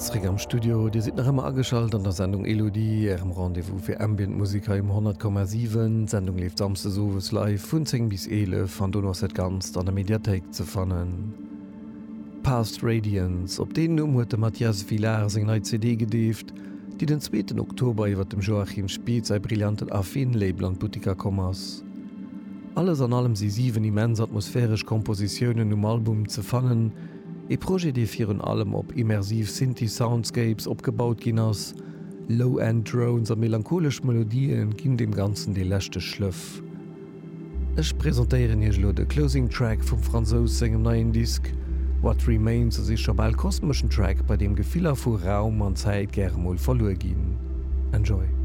Zréck am Studio, Dir sidd nach ëmmer ageschalt an der Sendung Elodie, Ärem Rendez-vous fir Ambient Musek hei um 100,7. D'Sendung leeft samsdes owes live vun 10 bis 11 an dono ass dat Ganzt an der Mediathéik ze fannen. Past Radiance, op deen Numm huet de Mathias Villard seng nei CD gedeeft, déi den zweeten Oktober iwwer dem Joachim Spieth säi brillanten Affin-Label an d'Buttiker komm ass. Alles an allem si 7 immens atmosphäresch Kompositiounen um Album ze fannen, Ee Projet, dee virun allem op immersiv Synthi-Soundscapes opgebaut ginn ass. Low-End Drones a melancholesch Melodië ginn deem Ganzen dee leschte Schlëff. Ech presentéieren iech elo de Closing Track vum Fransous sengem neien Disk. What Remains ass ee scho bal kosmeschen Track, bei deem Gefiller vu Raum an Zäit gäre mol verluer ginn. Enjoy!